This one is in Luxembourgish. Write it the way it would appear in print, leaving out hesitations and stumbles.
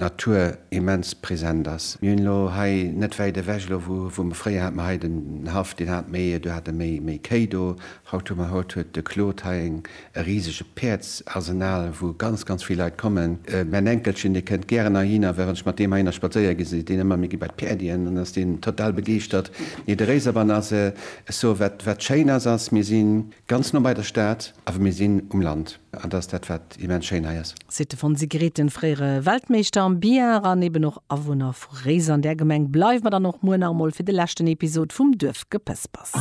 D'Natur immens present ass. Mir hunn elo hei net wäit ewech, elo wou wou mer fréier hate mer hei den Haff, deen hat méi, do hate méi méi Kéi do. Haut hu mer, haut huet de Claude hei eng e risege Päerdsarsenal, wou ganz ganz vill Leit kommen. Mäin Enkelchen, dee kënnt gären heihinner, well wann ech mat deem heihinner spadséiere gi seet deen ëmmer, mir gi bei d'Päerdien, dann ass deen total begeeschtert. Nee, de Réiserbann ass, ech soe wat wat schéin ass, ass mir si ganz no bei der Stad, awer mir sinn um Land. An dat ass dat, wat immens schéin hei ass. Seet de Fonsi Grethen, fréiere Weltmeeschter am Billard an eben och Awunner vu Réiser. An där Gemeng bleiwe mer dann och muer nach emol fir de leschten Episod vum Duerfgepëspers.